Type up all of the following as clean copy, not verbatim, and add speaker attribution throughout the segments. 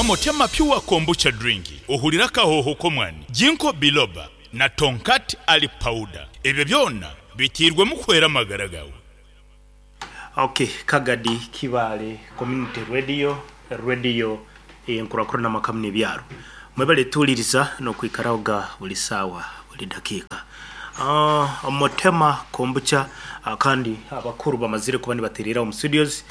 Speaker 1: Motema Pure Kombucha Drink, ohurire akahooho k'omwani, Ginkgo Biloba na Tongkat Ali Powder. Ebyo byona biteirwemu kuhwera amagara gaawe.
Speaker 2: Ok Kagadi Kibaale Community Radio, Radio ey'enkurakurana amaka muno ebyaro. Mwebale tuwuliriza n'okwikaraho ga buli saawa buli dakiika. Motema Kombucha kandi abakuru bamazire kuba nibatereera omu studios.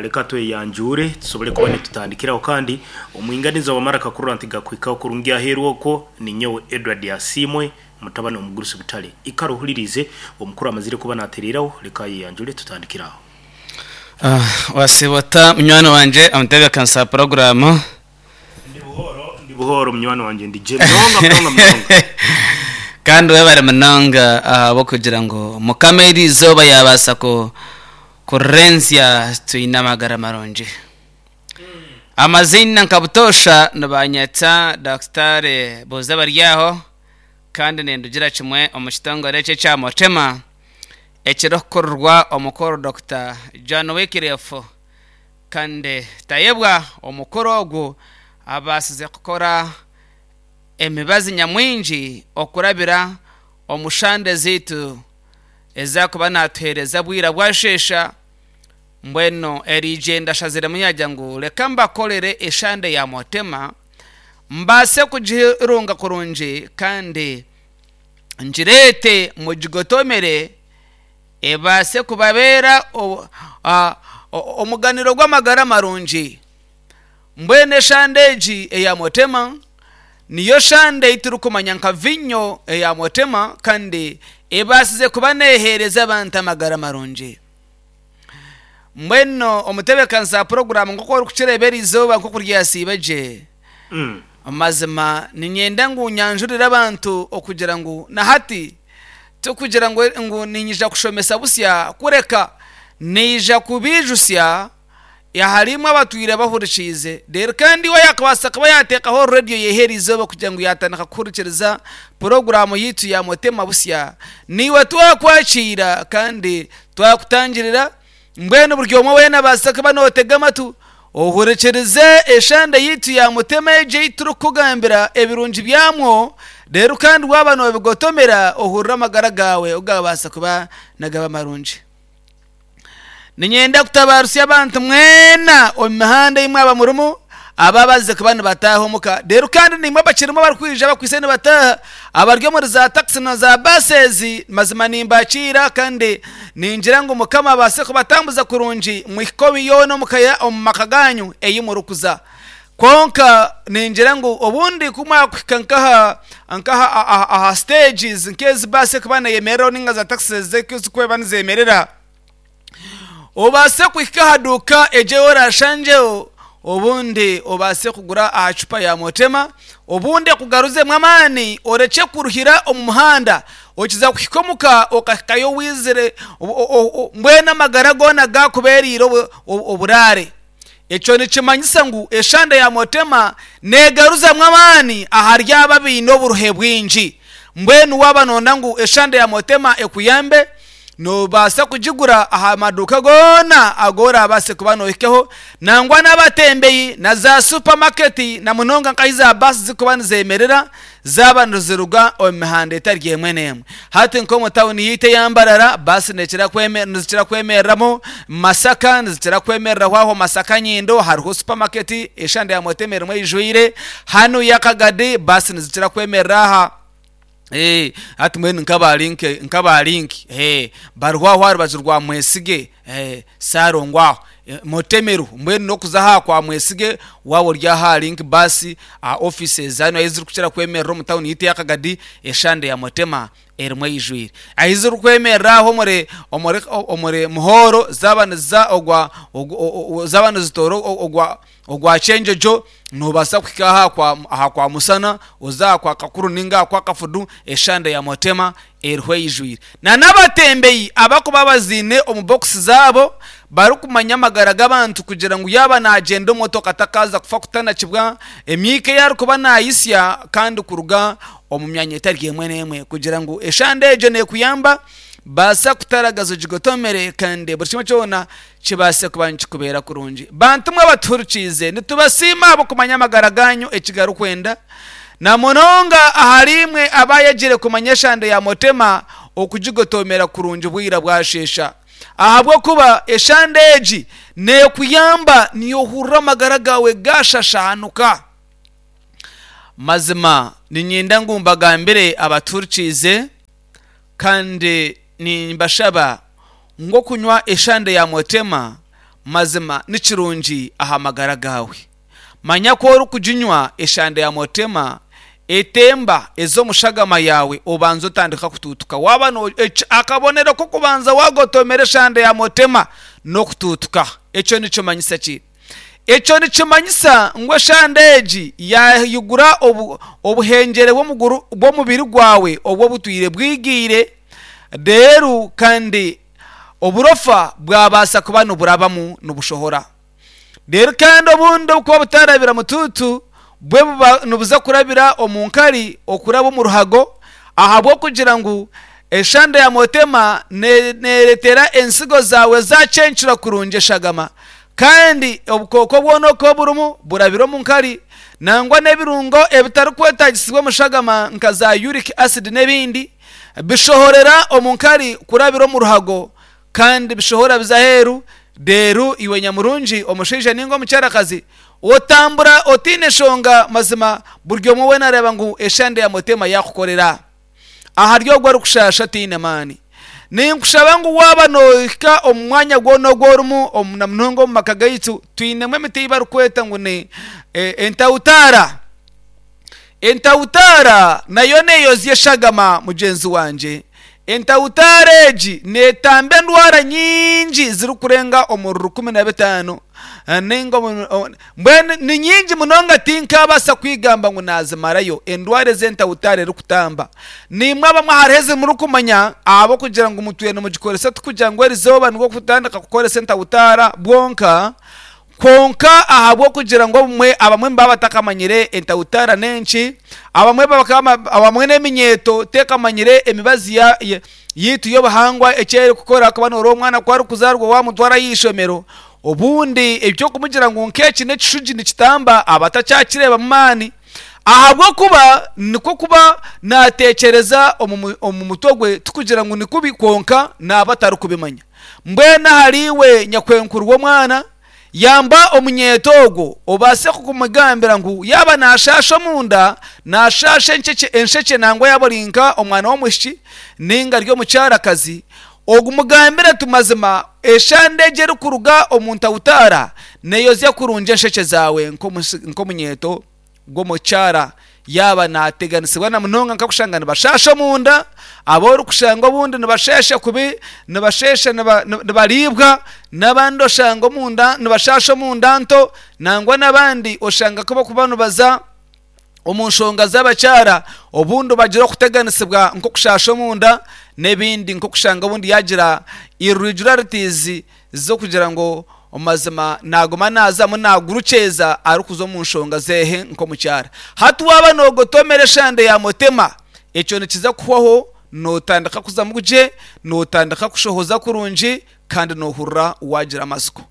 Speaker 2: Leka tweyanjuure tusobole kuba nitutandikiraho kandi omwinganiza wamara akakurora nti gakuhikaho kurungi aheeru okwo ninyowe Edward Asiimwe mutabani w'omugurusi Butare. Ikara ohuririize omukuru amazire kuba natereeraho leka ayeyanjure tutandikire aho.
Speaker 3: Wasiiba ota munywani wangye omutebeekanisa wa puroguraamu?
Speaker 2: Ndi buhooro, ndi buhooro munywani wangye ndi gye munonga munonga munonga.
Speaker 3: Kandi webare munonga ahabw'okugira ngu Mukama eri izooba yaabaasa ku kurenzya twine amagara marungi. Amaziina nka butoosha nibanyeta Daktari Buuza Baryaho kandi nindugira kimwe omu kitongore eki ekya Motema ekirikukurirwa omukuru Dokita John Wycliffe Kandi tayebwa omukuru ogu abaasize kukora emibazi nyamwingi okurabira omu shande zaitu ezi arikuba naatuheereza bwira bwasheesha. Mbwenu eriigyenda ashaziremu yaagira ngu reka mbakorere eshande ya Motema mbaase kugirunga kurungi kandi ngireete mugigotomere ebaase kubabeera omuganiro gw'amagara marungi. Mbwenu eshande egi eya Motema niyo shande ei turikumanya nka viinyo eya Motema kandi ebaasize kuba neeheereza abantu amagara marungi. Mbwenu omutebeekanisa wa puroguraamu nk'oku orikukireeba eri izooba nk'oku ryasiiba gye, Mazima niinyenda ngu nyanjurire abantu okugira ngu na hati tikugira ngu ngu niinyija kushomesa busya, kureka naija kubaijutsya ahari imwe abatwire bahurikiize. Reero kandi iwe yaakubaasa kuba yaateekaho rediyo ye eri izooba kugira ngu yaatandika kuhurikiriza puroguraamu yaitu ya Motema Busya, naiwe twakwakiira kandi twakutangirira. Mbwenu buri omwe weena abaasa kuba nootega amatu, ohurikirize eshande yaitu ya Mutema egi ei turikukugambira ebirungi byamwo, reero kandi waaba noobigotomera ohurire amagara gaawe oku gaabaasa kuba nigaba marungi. Niinyenda kutabaarusya abantu mwena omu mihanda ei mwaba murimu, abo abazize kuba nibataaha omuka, reero kandi naimwe abakirimu abarikwija bakwaitse nibataaha, Abari omuri za takisi na za baasi ezi, mazima nimbakiira kandi ningira ngu Mukama abaase kubatambuza kurungi muhike omu yoona omu ka omu maka gaanyu ei murikuza. Kwonka ningira ngu obundi ku mwakuhika nk'aha nk'aha aha aha stages nk'ezi baasi erikuba neeyemereraho nainga za takisi ezi ezirikuba nizeemerera, Obaase kuhika aha duuka egyo ei oraashangyeho, obundi obaase kugura aha cupa ya Motema, obundi ekugaruzemu amaani orekye kuruhira omu muhanda. Okiza kuhika omuka okahikayo waizire mbwenu amagara goona gaakubeereire oburaare. Ekyo nikimanyisa ngu eshande ya Motema neegaruzamu amaani ahari abo abaine oburuhe bwingi. Mbwenu waaba nooyenda ngu eshande ya Motema ekuyambe, Noobaasa kugigura aha maduuka goona agu oraabaase kuba noohikaho, nangwa n'abatembeyi na zaasupamaketi na munonga nk'ahu zaabaasi zirikuba nizeemerera zaaba niziruga omu mihanda etari emwe n'emwe. Hati nk'omu tauni yaitu eya Mbarara, baasi nizikira kwemereramu, Masaka nizikira kwemereraho aho Masaka Nyindo hariho supamaketi eshande ya Motema erimu eijwire, hanu Yakagadi baasi nizikira kwemerera aha. Eh, hati mbwenu nk'aba link nk'aba link eh, bariho aho aha rubaju rwa Mwesige eh, Ssalongo aho eh, Mutemeru mbwenu n'okuza aha kwa Mwesige waaba ori aha link bus aha offices hanu ahu zirikukira kwemerera omu tawuni yaitu eya Kagadi eshande ya Mutema erimu eijwire. Ahu zirikwemerera aho omuri omuri omuri Muhoro zaaba niziza ogwa zaaba nizitoora ogwa Ogwa Kyenjojo noobaasa kuhika aha kwa aha kwa Musana, oze aha kwa Kakuru nainga aha kwa Kafudu, eshande ya Motema eriho eijwire. Na n'abatembeyi abarikuba baziine omu bokisi zaabo barikumanya amagara g'abantu kugira ngu yaaba naagyenda omu motoka atakaaza kufa kutanakibwa emyika ei arikuba naayitsya kandi kuruga omu myanya etari emwe n'emwe kugira ngu eshande egyo neekuyamba. Baasa kutaragaza ogigotomere kandi buri kimwe kyona kibaase kuba nikikubeera kurungi. Bantu mwe abatuhurikiize, nitubasiima ahabw'okumanya amagara gaanyu eki garikwenda, na munonga ahariimwe abaayegire kumanya eshande ya Motema okugigotomera kurungi bwira bwasheesha. Ahabw'okuba eshande egi neekuyamba niyohurira amagara gaawe gaashashaanuka. Mazima niinyenda ngu mbagambire abatuhurikiize, Kandi nimbashaba ngu okunywa eshande ya Motema mazima ni kirungi aha magara gaawe. Manya ku orikuginywa eshande ya Motema etemba eza omu shagama yaawe obanza otandika kutuutuka. Waaba no, akabonero k'okubanza waagotomera eshande ya Motema n'okutuutuka. Ekyo nikimanyisa ki? Ekyo nikimanyisa ngu eshande egi yaayigura obuhengyere bw'omubiri gwawe obu obutwire bwigiire, reero kandi oburofa bwabaasa kuba niburabamu nibushohora. Reero kandi obundi obukuba butarabira mutuutu bwe buba nibuza kurabira omu nkari okuraba omu ruhago ahabw'okugira ngu eshande ya motema neeretera ensigo zaawe zaacencura kurungi eshagama Kandi obukooko bwona oku burimu burabire omu nkari, nangwa n'ebirungo ebitarikwetaagisibwa omu shagama nka za uric acid n'ebindi, bishohorera omu nkari kurabira omu ruhago kandi bishohora biza aheeru, reero iwe nyamurungi omushaija ninga omukyarakazi otambura otaine nshonga mazima buri omwe weena areeba ngu eshande ya Mutema yaakukorera. Ahari ogwo orikushaasha otaine maani. Ninkushaba ngu waaba noohika omu mwanya gwona ogu orimu, na munonga omu maka gaitu, twinemu emiti ei barikweta ngu ni entautaara. Entautaara nayo neeyozya eshagama mugyenzi wangye. Entautaara egi neetamba endwara nyingi zirikurenga omuri 15. Nainga mbwenu ni nyingi munonga tinkaabaasa kwigamba ngu naazimarayo endwara ezi entautaara erikutamba. Naimwe abamwe hariho ezi murikumanya ahabw'okugira ngu mutwire nimugikoresa tikugira ngu erizooba nibwo kutandika kukoresa entautaara bwonka, kwonka ahabw'okugira ngu obumwe abamwe nibaba batakamanyire entautaara n'enki, abamwe bakaba abamwe n'eminyeeto tekamanyire emibazi ya yaitu y'obuhangwa eki erikukora kuba nooreeba omwana ku arikuzaarwa waamutwara aha ishomero, obundi eby'okumugira ngu nk'eki n'ekishugi nikitamba aba atakyakireebamu maani ahabw'okuba nikwo kuba naatekyereza omu mutwe gwe tikugira ngu ni kubi kwonka naaba atarikubimanya. Mbwenu ahariiwe nyakwenkuru w'omwana, Yamba omunyeeto ogwo obaase kumugambira ngu yaaba naashaasha omunda, naashaasha enshekye nangwa yaaba ori nka omwana w'omwishiki nainga ari omukyarakazi, omugambire oti mazima eshande egi erikuruga omu ntawutaara neeyozya kurungi enshekye zaawe nk'omunyeeto. gw'omukyara yaaba naateganisibwa na munonga nk'okushanga nibashaasha omunda, abu orikushanga obundi nibasheesha kubi, nibasheesha nibariibwa, n'abandi oshanga omunda nibashaasha omunda nto, nangwa n'abandi oshanga ku barikuba nibaza omu nshonga z'abakyara obundi bagira okuteganisibwa nk'okushaasha omunda n'ebindi nk'okushanga obundi yaagira irregularities z'okugira ngu omu mazima naaguma naazamu naagurukyeza arikuza omu nshonga zeehe nk'omukyara. Hati waaba noogotomera eshande ya mutema, ekyo nikiza kuhwaho nootandika kuzamu gye, nootandika kushohoza kurungi kandi noohurira waagira amatsiko.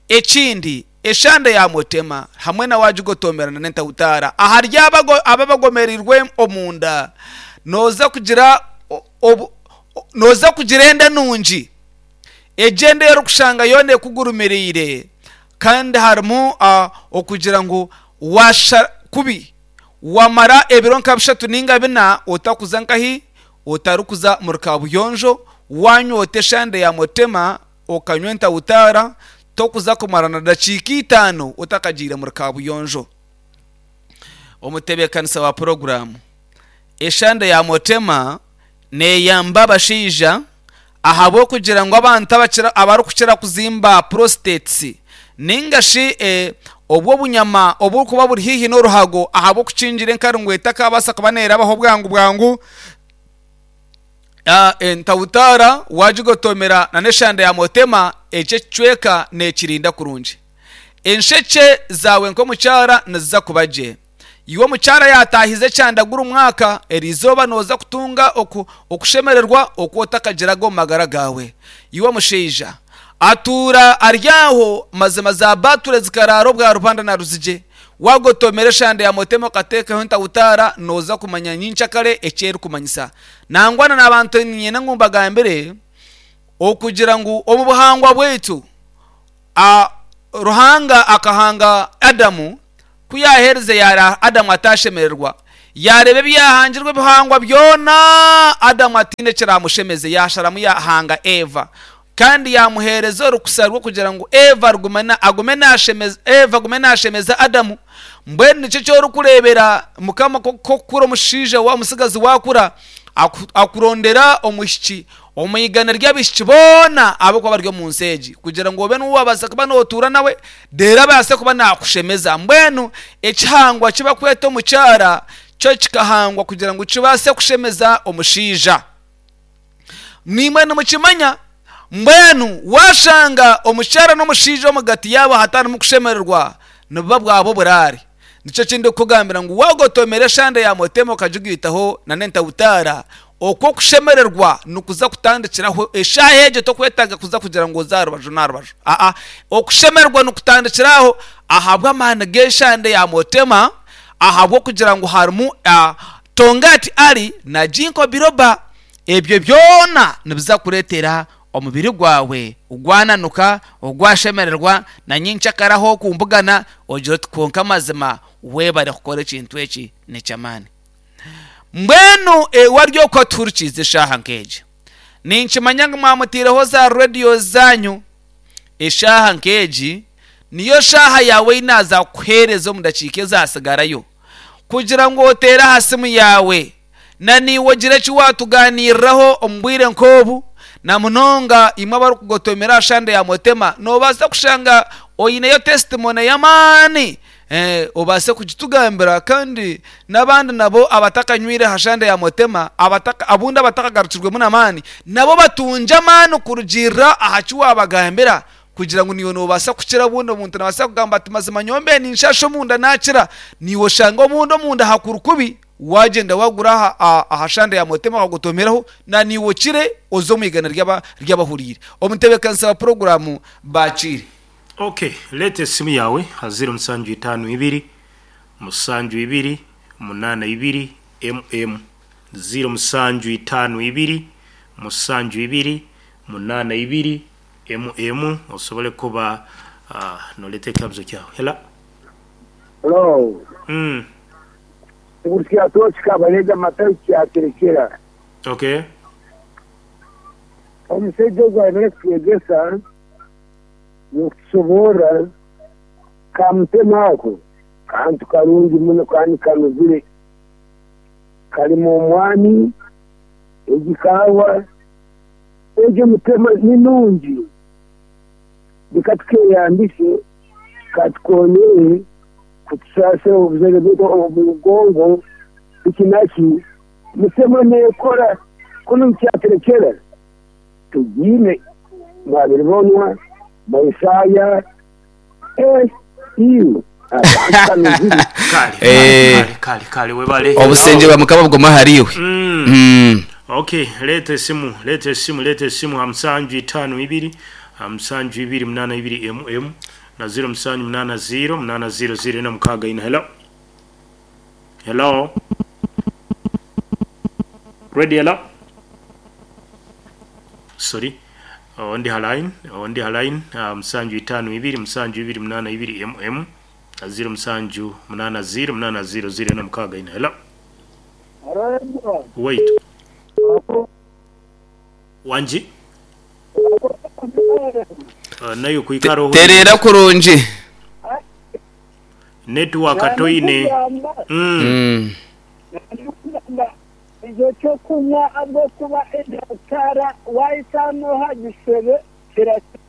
Speaker 3: Ekindi, eshande ya mutema hamwe na waagigotomera n'entahutaara ahari abo abagomereirwe omunda, nooza kugira nooza kugira enda nungi. Egyo enda ei orikushanga yoona ekugurumiriire kandi harimu okugira ngu waashusha kubi wamara ebiro nka bishatu nainga bina otakuza nkahi, otarikuza omuri kaabuyonjo, waanywa ota eshande ya mutema okanywa entawutaara, tokuza kumara na dakiika itaano otakagiire omuri kaabuyonjo. Omutebeekanisa wa puroguraamu, Eshande ya mutema neeyamba abashaija Ahabw'okugira ngu abantu abarikukira kuzimba prostates ninga shi obwo obunyama oburikuba buri haihi n'oruhago ahabw'okukingira enkari ngu etakabaasa kuba neerabaho bwangu bwangu, entawutaara waagigotomera n'eshanda ya motema ekyo ekicweka neekirinda kurungi. Enshekye zaawe nk'omukyara niziza kuba gye. Iwe omukyara yaataahize ekyanda guri mwaka, eri izooba nooza kutunga oku okushemererwa oku otakagiraga omu magara gaawe. Iwe omushaija, atuura ari aho, mazima za bature zikaraara obwa Rubanda na Ruzigye. Waagotomera eshande ya Mutema okateekaho entawutaara, nooza kumanya nyenkyakare eki erikumanyisa. Nangwa na n'abantu niinyenda ngu mbagambire okugira ngu omu buhangwa bwaitu, A Ruhanga akahanga Adamu, ku yaaherize yaara Adamu ataashemererwa. Yaareeba ebyahangirwe ebihangwa byona, Adamu ataine ekiraamushemeze, yaasharamu yaahanga Eva. Kandi yaamuheereza orukusa rw'okugira ngu Eva rugume na, agume naashemeza, Eva agume naashemeza Adamu. Mbwenu nikyo eki orikureebera Mukama nk'okukura omushaija wa, omutsigazi waakura, aku, akurondera omwishiki Omu igana ry'abaishiki boona abarikuba bari omu nsi egi, kugira ngu obe niwe waabaasa kuba nootuura nawe, reero abaase kuba naakushemeza. Mbwenu ekihangwa eki barikweta omukyara kyo kikahangwa kugira ngu kibaase kushemeza omushaija. Naimwe nimukimanya. Mbwenu waashanga omukyara n'omushaija omugati yaabo hatarimu kushemererwa, nibuba bwaba oburaare. Nikyo eki ndikukugambira ngu waagotomera eshande ya motema okagigaitaho n'entawutaara, okwo okushemererwa nikuza kutandikiraho eshaaha egyo tokwetaaga kuza kugira ngu oze aha rubaju n'aha rubaju. Aa, okushemererwa nikutandikira aho ahabw'amaani g'eshande ya motema, ahabw'okugira ngu harimu Tongati Ali na Ginkgo Biloba. Ebyo byona nibiza kureetera omubiri gwawe gwananuka, gwashemererwa, na nyenkyakare ahu orikumbugana ogira oti kwonka mazima webare kukora ekintu eki n'eky'amaani. Mbwenu wari okwo atuhurikiize eshaaha nk'egi, ninkimanya ngu mwamutaireho za radiyo zaanyu, eshaaha nk'egi niyo shaaha yaawe ei naaza kukuheereza omu dakiika ezaatsigarayo kugira ngu oteere aha simu yaawe Na naiwe ogire eki waatugaaniiriraho omu bwire nk'obu, na munonga imwe abarikugotomera aha shande ya Motema, noobaasa kushanga oineyo testimony y'amaani obaase kugitugambira kandi n'abandi nabo abatakanywire aha shande ya Motema, abataka abundi abatakagarukirwemu n'amaani, nabo batungye amaani kurugiirira aha ki waabagambira kugira ngu naiwe noobaasa kukira obundi omuntu naabaasa kugamba ati mazima nyowe mbaire ninshaasha omunda naakira, naiwe oshange obundi omunda hakuri kubi. Waagyenda waagura aha aha shande ya Motema bakagotomeraho, na naiwe okire oze omu igana ry'aba ry'abahuriire. Omutebeekanisa wa puroguraamu baakiire.
Speaker 2: Ok, leeta esimu yaawe aha ziiro musanju itaano ibiri, musanju ibiri, munaana ibiri, MM. Ziiro musanju itaano ibiri, musanju ibiri, munaana ibiri, MM osobole kuba nooreeta ekikabuzo kyawe. Hello.
Speaker 4: Hello. Ngu kyatooki Kabarega Matayo kyaterekyera.
Speaker 2: Okay.
Speaker 4: Omusaija ogu ayebare kutwegyesa n'okutushoboorora ka mutema ako kantu karungi muno kandi kanuzire. Karimu omwani, egi kaawa, egyo mutema ni nungi. Reka tukeyambise katukonyere kutusaasira obuzaire bwaitu omu mugongo biki naki. Mutema neekora kunu nikyaterekyera tugiine mwabiribonwa Maisaaya eh iwe akantu kanuzire.
Speaker 2: Kale,
Speaker 3: Eh.
Speaker 2: kale, kale, kale, webale.
Speaker 3: Obusingye bwa Mukama bugume ahariiwe.
Speaker 2: Okay, leeta esimu, leeta esimu, leeta esimu ha musanju itaano ibiri, ha musanju ibiri munaana ibiri MM na ziro musanju munaana ziro munaana ziro ziro ina mukaaga ina. Hello? Hello? Ready, hello? Sorry. Ondi ha line, ondi ha line, musanju itaano ibiri, musanju ibiri munaana ibiri MM na ziro musanju munaana ziro munaana ziro ziro ina mukaaga ina. Hello? Wait. Wangi? Nayo kwikara ohu.
Speaker 3: Tereera kurungi.
Speaker 2: Network toine.
Speaker 5: Ekyokunywa ahabw'okuba endaatara waahika n'oha gisebe kirakira.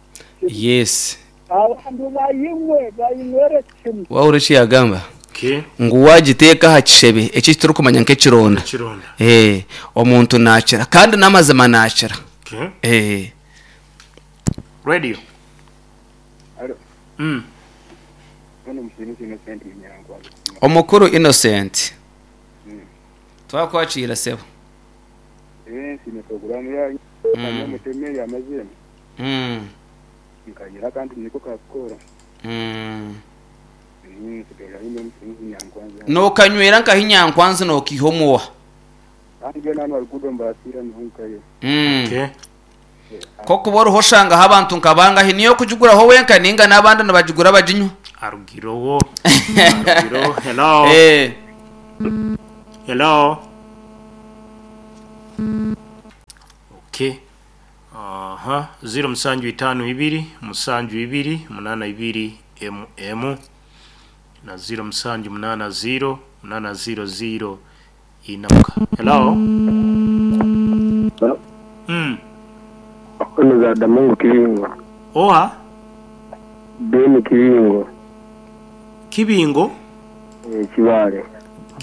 Speaker 3: Yes.
Speaker 5: Abantu bayinywe, bayinywere kimwe.
Speaker 3: Wahurira eki yaagamba?
Speaker 2: Okay.
Speaker 3: Ngu waagiteeka aha kishebe eki turikumanya nk'ekironda.
Speaker 2: Ekironda.
Speaker 3: Eh, omuntu naakira kandi n'amazima naakira.
Speaker 2: Okay.
Speaker 3: Eh.
Speaker 2: Radio.
Speaker 4: Alo.
Speaker 3: Omukuru Innocent. Twakwakiira sebo. Nokanywera nkahi Nyankwanzi nokiiha omuwa?
Speaker 2: Okay.
Speaker 3: Kokuba oriho oshangaho abantu nka bangahi? Niiwe orikugiguraho wenka ninga n'abandi nibagigura baginywa?
Speaker 2: Arugireho. Arugireho. Hello.
Speaker 3: Eh.
Speaker 2: Hello. Okay. Aha. 0 musanju itaano ibiri musanju ibiri munaana ibiri emu emu na 0 musanju munaana 0 munaana 0 0 inamuka. Hello.
Speaker 4: Ono za Damungu Kibingo.
Speaker 2: Oha?
Speaker 4: Ben Kibingo.
Speaker 2: Kibingo?
Speaker 4: Eh, Kibaale.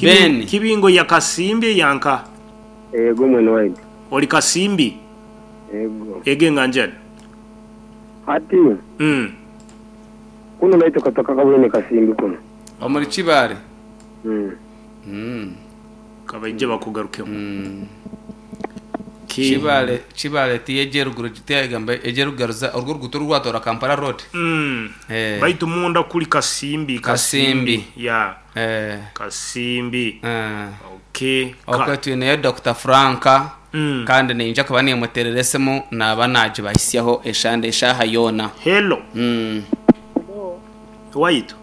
Speaker 3: Ben.
Speaker 2: Kibingo ya Kasimbi eyanka?
Speaker 4: Ego mwene waitu.
Speaker 2: Ori Kasimbi?
Speaker 4: Ego.
Speaker 2: Ego enganjani?
Speaker 4: Hati kunu naitwe kataka kabwine Kasimbi kunu.
Speaker 3: Omuri Kibaale? Mm.
Speaker 2: Kabaije bakugarukemu. Ki-
Speaker 3: Kibaale Kibaale ti egyeruguru tiyagamba egyerugaruza orwo oruguuto orwatoora Kampala road. Eh.
Speaker 2: Baitu munda kuri Kasimbi
Speaker 3: Kasimbi.
Speaker 2: Ya
Speaker 3: Eh.
Speaker 2: Kasimbi.
Speaker 3: Eh.
Speaker 2: Okay.
Speaker 3: Okwe twineyo Dr. Franka kandi niinyija kuba nimuteerera esimu naaba naagibahisyaho eshande eshaaha yoona.
Speaker 2: Hello. Waitu.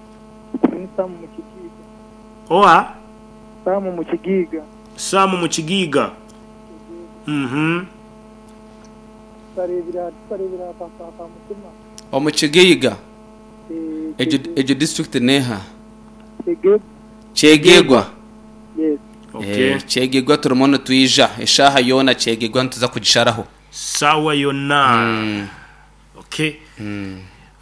Speaker 5: Ni Samu Mukigiiga.
Speaker 2: Oha?
Speaker 5: Samu Mukigiiga.
Speaker 2: Samu Mukigiiga.
Speaker 5: Tukareebera tukareebera aha ka Mutima.
Speaker 3: Omu Kigiiga? Egyo egyo district neeha?
Speaker 5: Kyegegwa.
Speaker 3: Kyegegwa?
Speaker 5: Yes.
Speaker 2: Okay.
Speaker 3: Eh, Kyegegwa turimu nitwija eshaaha yoona Kyegegwa nituza kugisharaho.
Speaker 2: Saawa yona. Okay.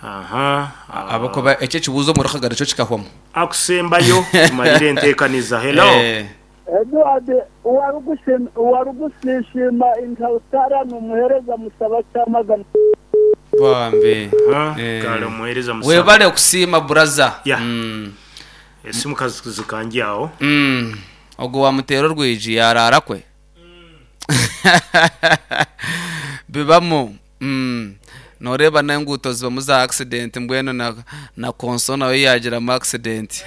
Speaker 2: Aha.
Speaker 3: Ahabw'okuba ekyo ekibuuzo omuri Kagari kyo kikahwamu.
Speaker 2: Akusembayo tumarire enteekaniza. Hello.
Speaker 3: Eh.
Speaker 5: Edward owarigusiisiima Intautara n'omuheereza Musaba Kyamagana.
Speaker 3: Bambi.
Speaker 2: Aha,
Speaker 3: Eh.
Speaker 2: Kale omuheereza Musaba.
Speaker 3: Webale kusiima buraza.
Speaker 2: Yeah. Esimu kazikangi aho.
Speaker 3: Ogwo wamuteera orwigi yaraara kwe. Bibamu. Noreeba n'enguuto zibamu za accident mbwenu na, na konso nayo yagiramu accident.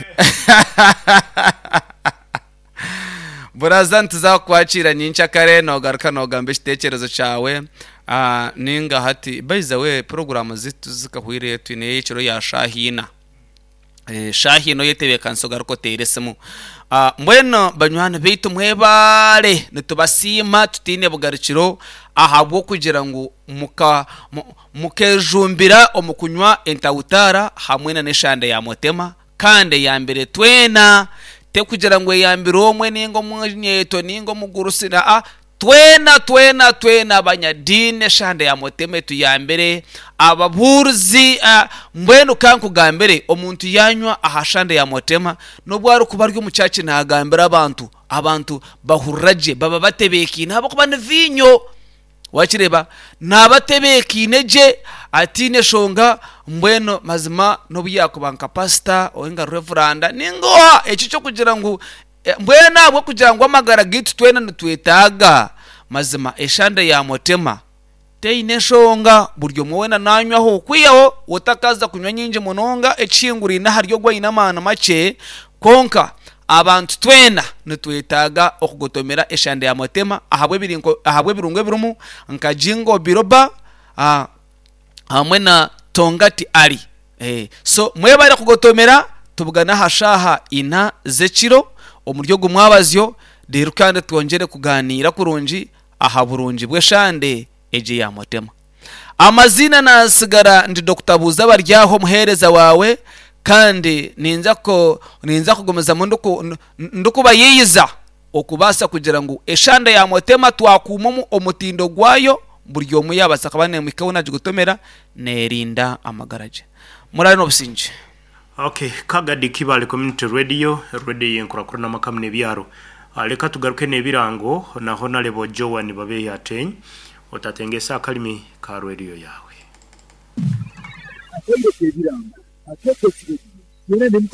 Speaker 3: Buraza nituza kukwakiira nyenkyakare nogaruka nogamba ekiteekyerezo kyawe. Ah, ninga hati by the way puroguramu zitu zikahwire twine ey'ekiro ya shaaha ina. Eh, shaaha ina oyetebeekanisa ogaruke oteere esimu. Ah, mbwenu banywani baitu mwebaare nitubasiima tutaine bugarukiro ahabw'okugira ngu muka, mu, mukejumbira omu kunywa entawutaara hamwe na n'eshande ya mutema kandi eyambire twena tekugira ngu eyambire omwe ninga omunyeeto ninga omugurusi aa twena twena twena abanyadiini eshande ya mutema etuyambire ababuurizi ah, mbwenu kankugambire omuntu yanywa aha shande ya mutema n'obu arikuba ari omu church nagambira abantu abantu bahurira gye baba batebeekaine ahabw'okuba ni viinyo Wakireeba? Naaba atebeekaine gye, ataine shonga, mbwenu mazima n'obu yaakuba nka pasita oinga revuranda nainga oha, ekyo ky'okugira ngu mbwenu ahabw'okugira ngu amagara gaitu twena nitwetaaga, mazima eshande ya Mutema teine nshonga, buri omwe weena naanywaho, kwihaho otakaza kunywa nyingi munonga ekihinguraine ahari ogwo oine amaani makye, kwonka Abantu twena nitwetaaga okugotomera eshande ya Mutema ahabw'ebirungo ebirimu nka Jingo Biloba hamwe na Tongati Ali. So mwebare kugotomera, tubugane aha shaaha ina z'ekiro omuri ogu mwabazyo reero kandi twongyere kuganiira kurungi aha burungi bw'eshande egi eya Mutema. Amaziina naatsigara ndi Dokita Buuza Baryaho omuheereza waawe kandi ninza ku ninza kugumizamu ndiku ndikubayiiyiza okubaasa kugira ngu eshanda ya Mutema twakuuma omu omutindo gwayo buri omwe yaabaasa kuba neemuhika ahu naagigutomera neerinda amagara gye. Muraare n'obusingye.
Speaker 2: Ok, Kagadi Kibaale Community Radio, radio y'enkurakurana amaka n'ebyaro. Leka tugaruke n'ebirango na Honarebo Joan Babehi Ateny. Otatengeesa akarimi ka radio yaawe.
Speaker 6: Akatebe k'ebirango akeetokire bwino.
Speaker 5: Byona ndi